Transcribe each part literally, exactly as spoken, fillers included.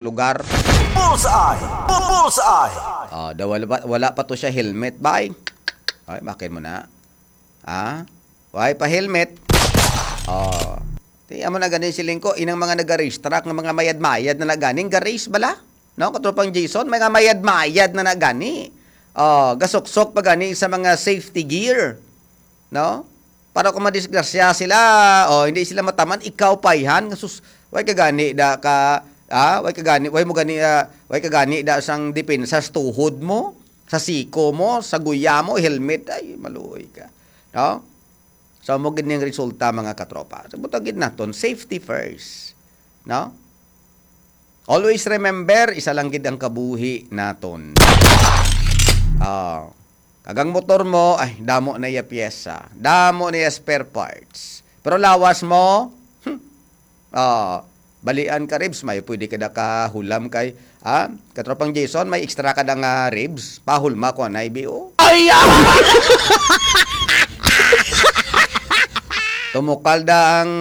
lugar. Bullseye! Bu-, Bullseye! Oh, daw wala pa, wala pa to siya helmet, bay. Ay, makin mo na. Ha? Why pa helmet? Oh. Ti amo na gani siling ko, inang mga nag-race track nga mga mayad-mayad na nagani, ga-race bala? No, katropang Jason, mga mayad-mayad na nagani. Oh, gasuksok pa gani sa mga safety gear. No? Para kung madisgrasya sila, oh, hindi sila mataman, ikaw payhan, nga sus, way ka gani da ka, ah, way ka gani, way mo gani, ah, way ka gani da sang depensa sa tuhod mo, sa siko mo, sa guya mo, helmet, ay, maluoy ka. No? So, mo gid ning resulta, mga katropa. So, butang gid naton, safety first. No? Always remember, isa lang gid ang kabuhi naton. Ah, kag ang motor mo, ay, damo na iya pyesa, damo na iya spare parts. Pero lawas mo, hmm, ah, balian ka ribs, may pwede ka da kahulam kay, ah, katropang Jason, may extra ka da nga ribs, pahulma ko na ibi, oh. Ay, ah! Tumukal da ang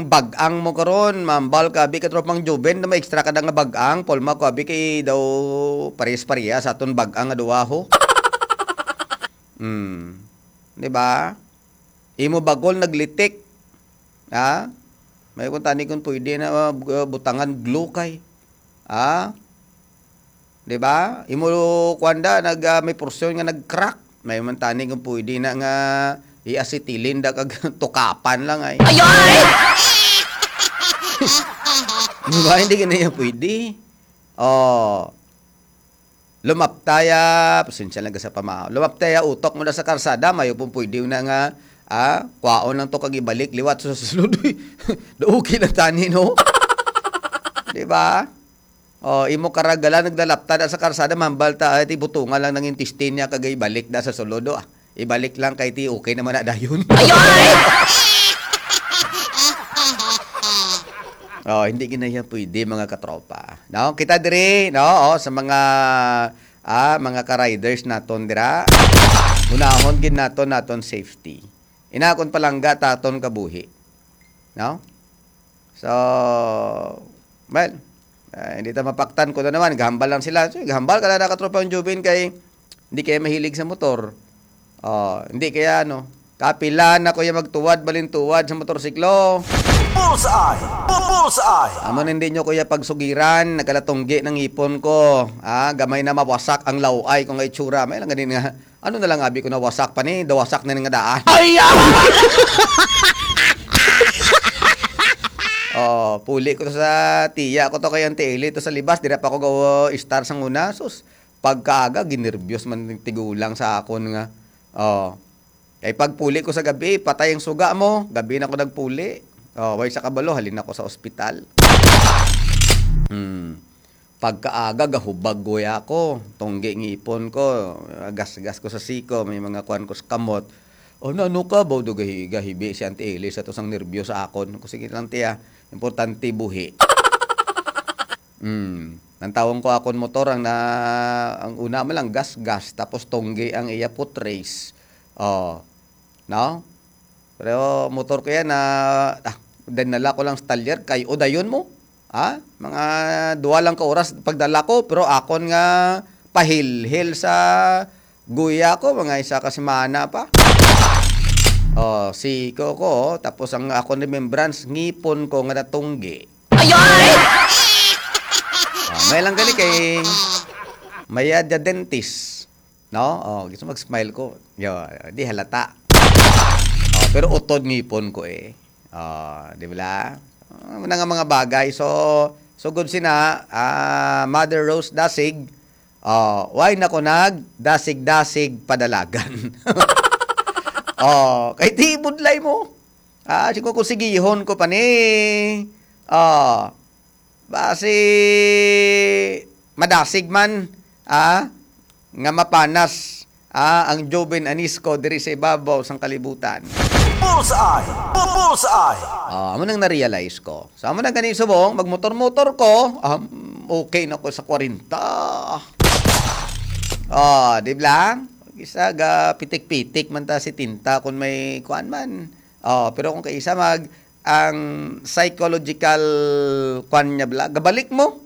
bag-ang mo karon, mambal ka abi, katropang Juben, na may extra ka da nga bag-ang, pulma ko abi, kay daw pares-pareha sa aton bag-ang nga duwa, ho. Hmm. Di ba? Imo bagol naglitik. Ha? May kung tani kung pwede na, uh, butangan glue kay. Ha? Di ba? Imo kuan da, nag, ah, may porsyon nga nag-crack. May man tani kung pwede na nga i-acetylene da kag tukapan lang ay. Ay, ay! Di ba? Hindi ka na yan pwede. Oh. Lumaptaya, pasensya lang ka sa pamao. Lumaptaya, utok mo na sa karsada, mayo pong pwede na nga, ah, kwaon lang to kag ibalik, liwat sa sulod. Uy, okay lang tani, no? Di ba? Oh, imo karagalan, nagdalapta na sa karsada, mambal ta, ay, ti butungan lang ng intestine niya, kag ibalik na sa sulod, oh. Ah, ibalik lang kay ti okay naman na dayon. Ayoy! Oh, hindi gid na yan pwede, mga katropa. No, kita diri, no, oh, sa mga, ah, mga ka-riders naton dira. Unahon gid naton naton safety. Ina kon palangga taton kabuhi. No? So, well, ah, hindi ta mapaktan ko na naman. Gahambal lang sila. So, gahambal ka lang na katropang Jubin kay hindi kaya mahilig sa motor. Oh, hindi kaya ano. Kapila na ko yung magtuwad, balintuwad sa motorsiklo. Bullseye! Bu-, Bullseye! Amo na hindi nyo kuya pagsugiran, nagkalatunggi ng ipon ko. Ah, gamay na mawasak ang laway ko nga itsura. May lang ganin nga. Ano na lang abi ko na wasak pa ni, dawasak na ni nga daan. Ay, ah! Oh, puli ko to sa tiya ko to kay Auntie Eli to sa libas, dira pa ko go star sang una. Sus, pagkaaga, ginerbyos man ning tigulang sa akon nga. Oh. Kay pagpuli ko sa gabi, patay ang suga mo. Gabi na ko nagpuli. Oh, way sa kabalo, halin ako sa ospital. Hmm. Pagkaaga, gahubag guya ko. Tunggi ngipon ko. Gasgas ko sa siko. May mga kuan ko sa kamot. O, na, ano ka? Baw do gahi-, gahibi si Auntie Eli sa to sang nervyo sa akon. Ko, sige lang, tiya. Importante buhi. Hmm. Nantawon ko akon motor, ang na, ang una man lang gasgas, tapos tunggi ang iya foot race. Oh. No? Pero motor ko yan na, ah, dinala ko lang sa talyer kay udayon mo. Ha? Mga duwa lang ka oras pagdala ko, pero akon nga pahilhil sa guya ko, mga isa ka semana pa. Oh, siko ko, oh. Tapos ang akon remembrance, ngipon ko nga natunggi. Ayoy! Ah, may lang gani kay may, ah, the dentist. No? Oh, gusto mag-smile ko. Yo, di halata. Oh, pero utod ngipon ko eh. Oh, di ba? Ah, muna nga mga bagay. So, sugod sina, ah, Mother Rose Dasig. Oh, why na ko nag dasig-dasig padalagan? Oh, kay ti budlay mo. Ah, siguro kung sigihon ko pa ni. Oh, basi madasig man, ah, nga mapanas, ah, ang Joven Anisco diri sa ibabaw sang kalibutan. Bullseye! Bu-, Bullseye! Ah, amo nang na-realize ko. So, amo na gani subong, magmotor-motor ko, um, okay na ko sa kwarenta. Ah, di ba? Isa ga pitik-pitik man ta si tinta kung may kuan man. Oh, pero kung kaisa mag, ang psychological kwan niya bala, gabalik mo.